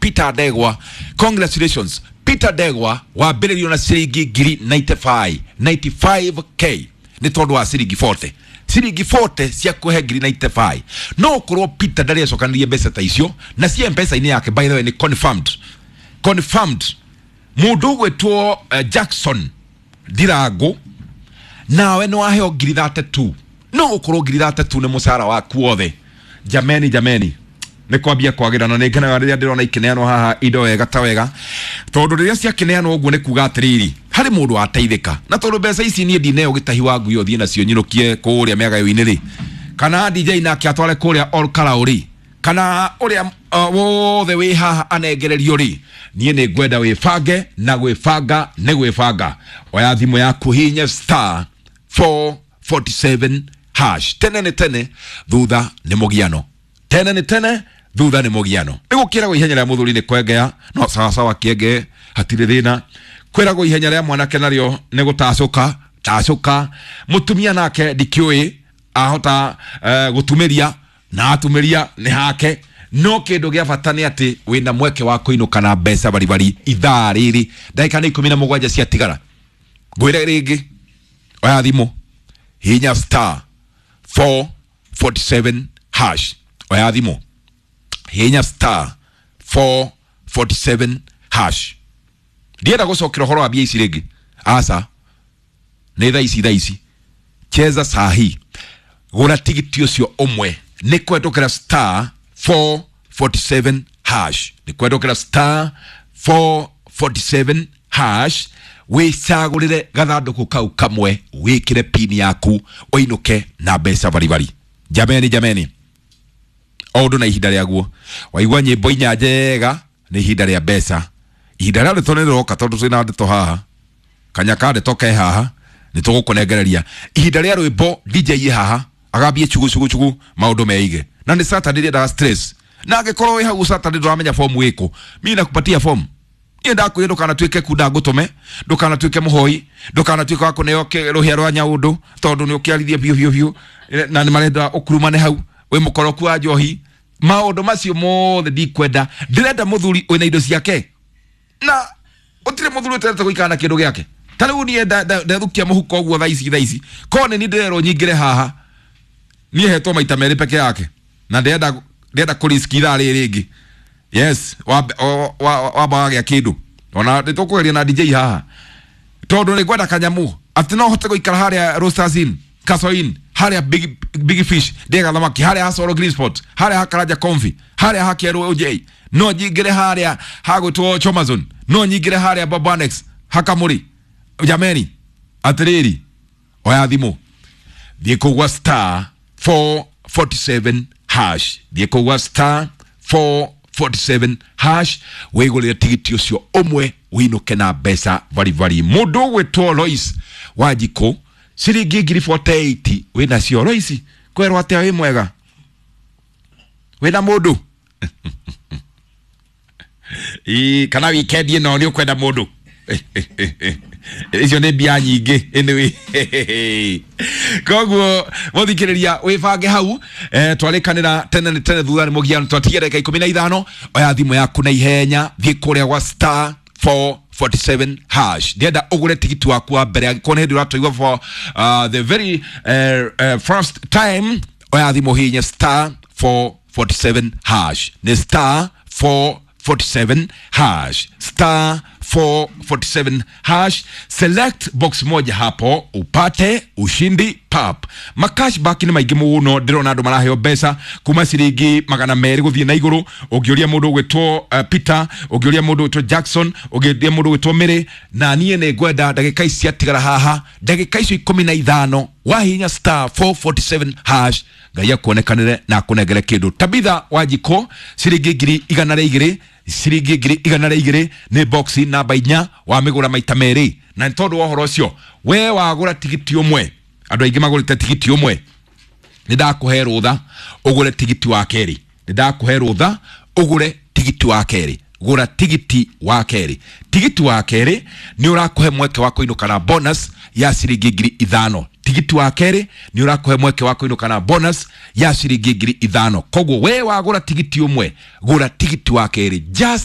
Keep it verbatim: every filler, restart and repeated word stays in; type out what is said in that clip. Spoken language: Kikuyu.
Peter Ndegwa, congratulations Peter Ndegwa, wambĩrĩrio na ciringi ngiri mĩrongo ĩkenda mĩrongo kenda na ithano K nĩ tondũ wa ciringi mĩrongo ĩna, ciringi mĩrongo ĩna cia kũhe ngiri mĩrongo kenda na ithano. No ũkorwo Peter ndarĩ acokanĩrie mbeca ta icio na cia M-Pesa-inĩ yake. By the way, nĩ confirmed, confirmed mũndũ ũgwĩtwo uh, Jackson Ndirango, nawe nĩ waheo ngiri mĩrongo ĩtatũ. No ũkorwo ngiri mĩrongo ĩtatũ nĩ mũcara waku wothe. Jameni, jameni, nĩ kwambia kwagĩra na nĩ ngenaga rĩrĩa ndĩrona ikĩneanwo haha indo wega ta wega, tondũ rĩrĩa ciakĩneanwo ũguo nĩ kuga atĩrĩrĩ, harĩ mũndũ wateithĩka. Na tondũ mbeca ici niĩ ndineo gĩtahi wa ngui ũthiĩ nacio nyinũkie kũrĩa mĩagayo-inĩ rĩ, kana D J nake atware kũrĩa Olkarau rĩ, kana ũrĩa uh, wothe wĩ haha anengererio rĩ, niĩ nĩ ngwenda wĩbange, na gwĩbanga nĩ gwĩbanga. Oya thimũ yaku, hihinya star four forty-seven hash. Tene nĩ tene, thutha nĩ mũgiano. Tene nĩ tene, thutha nĩ mũgiano. Nĩ gũkĩragwo ihenya rĩa mũthuri nĩ kwengea, no sawasawa, kĩenge hatirĩ thĩna. Kwĩragwo ihenya rĩa mwanake narĩo nĩ gũtacũka tacũka. Mũtumia nake ndikĩũĩ ahota uh, gũtumĩria na atumĩria nĩ hake, no kĩndũ gĩa bata nĩ atĩ wĩna mweke wa kũinũka na mbeca baribari. Ithaa rĩrĩ ndagĩka nĩ ikũmi na mũgwanja ciatigara. Ngwĩre rĩngĩ, oya thimũ, hinya star four forty-seven hash. Oya thimũ, hinya star four forty-seven hash. Ndienda gũcokera ũhoro wa mbia ici rĩngĩ, aca, nĩ thaa ici, thaa ici, cheza sahi, gũra tigiti ũcio ũmwe. Nĩ kwendũkĩra star four forty-seven hash, nĩ kwendũkĩra star four forty-seven hash, wĩcagũrĩre gathandũkũ kau kamwe, wĩkĩre pini yaku, ũinũke na mbeca baribari. Jameni, jameni, o ũndũ na ihinda rĩaguo. Waigua nyĩmbo inya njega nĩ ihinda rĩa mbeca. Ihinda rĩa ndeto nĩ rĩroka, tondũ twĩna ndeto haha, kanya ka ndeto ke haha, nĩ tũgũkũnengereria ihinda rĩa rwĩmbo. D J ye haha agambie chugu chugu chugu, maũndũ meige. Na nĩ Saturday, ndĩendaga stress, na angĩkorwo wĩ hau Saturday ndũramenya form ĩkũ, mi nakupatia form. Niĩ ndakwĩra ndũkanatuĩke kunda ngũtũme, ndũkanatuĩke mũhoi, ndũkanatuĩke wa kũneo kĩ- rũhĩa rwa nyaũndũ, tondũ nĩ ũkĩarithie biũ biũ biũ na nĩ marenda ũkurumane hau wĩ mũkoroku wa njohi. Maũndũ macio mothe ndikwenda. Ndĩrenda mũthuri wĩna indo ciake, na ũtirĩ mũthuri ũtendete gũikara na kĩndũ gĩake. Ta rĩu niĩ nda- nda- ndethukia mũhuko ũguo thaa ici, thaa ici korwo nĩ niĩ ndĩrerwo nyingĩre haha, niĩ hetwo maita merĩ peke yake, na ndĩrenda ndĩrenda kũriski ithaa rĩrĩ rĩngĩ. Yes, wamba wa- wamba wagĩa kĩndũ, ona nĩ tũkũgeria na D J haha, tondũ nĩ ngwenda kanyamu atĩ no hote gũikara harĩa Roasters Inn, Castle Inn, harĩa Big, Big Fish ndĩga thamaki, harĩa ha Soro Green Spot, harĩa ha Karanja Comfy, harĩa ha Kĩerũ O J, no nyingĩre harĩa hagwĩtwo Chomazon, no nyingĩre harĩa Bob Annex Hakamũri. Jameni, atĩrĩrĩ, oya thimũ, thiĩ kũgwa star four forty-seven hash, thiĩ kũgwa star four forty-seven hash, wĩgũrĩre tigiti ũcio ũmwe, wĩinũke na mbeca baribari. Mũndũ ũgwĩtwo Lois Wanjikũ, ciringi ngiri mĩrongo ĩnana na nyanya wĩnacio. Lois, kwerwo atĩa? Wĩ mwega? Wĩna mũndũ? Ĩ, kana weekend ĩno nĩ ũkwenda mũndũ? Icio nĩ mbia nyingĩ. Anyway, koguo mũthikĩrĩria, wĩbange hau. eh, twarĩkanĩra tene nĩ tene, thutha nĩ mũgiano. Twatigia ndagĩka ikũmi na ithano. Oya thimũ yaku na ihenya, thiĩ kũrĩa gwa star four forty-seven hash. Ndĩrenda ũgũre tigiti waku wa mbere angĩkorwo nĩ hĩndĩ ũratũigua for uh, the very uh, uh, first time. Oya thimũ, hihinya star four forty-seven hash, nĩ star four forty-seven hash, star four forty-seven hash. Select box moja hapo upate ushindi pap. Macashback nĩ maingĩ mũno, ndĩrona andũ maraheo mbeca kuma ciringi magana merĩ gũthiĩ na igũrũ. Ũngĩũria mũndũ ũgwĩtwo uh, Peter, ũngĩũria mũndũ ũgwĩtwo Jackson, ũngĩũria mũndũ ũgwĩtwo Mary. Na niĩ nĩ ngwenda ndagĩka ici ciatigara haha, ndagĩka icio ikũmi na ithano, wahinya star four forty-seven hash, Ngai akuonekanĩre na akũnengere kĩndũ. Tabitha Wanjikũ, ciringi ngiri igana rĩa igĩrĩ, ciringi ngiri igana rĩa igĩrĩ nĩ box namba inya, wamĩgũra maita merĩ. Na nĩ tondũ wa ũhoro ũcio, we wagũra tigiti ũmwe, andũ aingĩ magũrĩte tigiti ũmwe, nĩ ndakũhe rũtha ũgũre tigiti wa kerĩ. Nĩ ndakũhe rũtha ũgũre tigiti wa kerĩ. Gũra tigiti wa kerĩ. Tigiti wa kerĩ nĩ ũrakũhe mweke wa kũinũka na bonus ya ciringi ngiri ithano. Tigiti wa kerĩ nĩ ũrakũhe mweke wa kũinũka na bonus ya ciringi ngiri ithano. Koguo we wagũra tigiti ũmwe, gũra tigiti wa kerĩ just